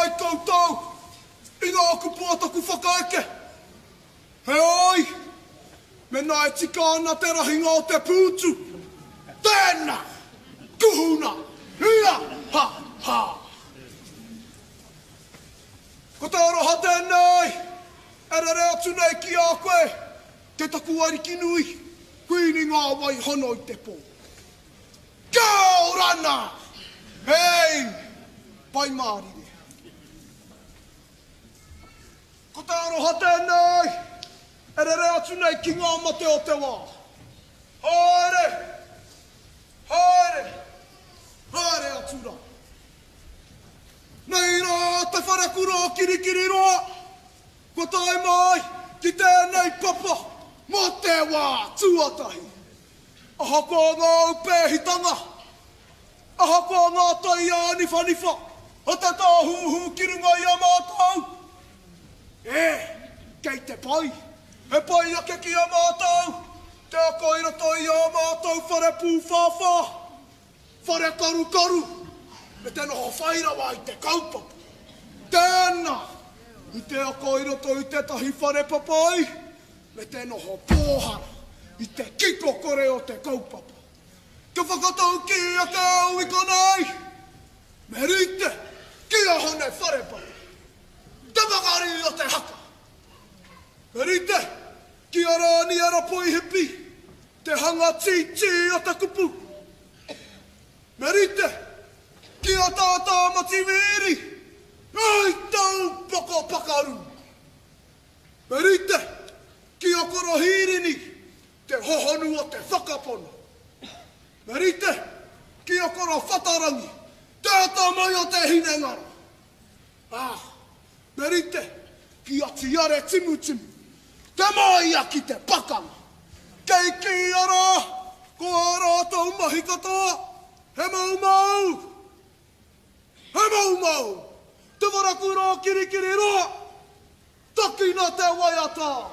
ai koutou i ngā kupu a taku whakaeke. Heoi, mēnā e tika ana te rahinga o te pūtu, tēnā, kuhuna, ia, ha, ha. Ko te aroha tēnei e rere atu nei ki a koe, te taku ariki nui, Kuini ngā wai hono i te pō. Kia orana! Hei! Pai mārire. Ko te aroha tēnei e rere atu nei ki ngā mate o te wā. Haere! Haere! Haere atu rā. Nei rā te wharekura o Kirikiriroa, kua tae mai ki tēnei papa mō te wā tuatahi. Ahakoa ngā aupēhitanga, ahakoa ngā tai āniwhaniwha o te tāhuhu ki runga i a mātou, e, kei te pai, he pai ake ki a mātou te ako i roto i ā mātou whare pūwhāwhā, whare karukaru, me te noho whai rawa i te kaupapa. Tēnā, i te ako i roto i tētahi whare papai, me te noho pōhara i te kiko kore o te kaupapa. Kia whakataukī ake au i konei, me rite ki a Hone Wharepapa, te pakari o te haka. Me rite ki a Rāniera Poihipi, te hanga tītī o te kupu. Me rite ki a Tā Tāmati Wīri, hei taupoko pakaru. Me rite ki a Korohīrini te hohonu o te whakapono. Me rite ki a Korowhatarangi te atamai o te hinengaro. Ā, me rite ki a Tiare Timutimu te māia ki te pakanga. Kei kīia rā ko ā rātou mahi katoa he moumou! He moumou! Te wharakura o Kirikiriroa! Takina te waiata!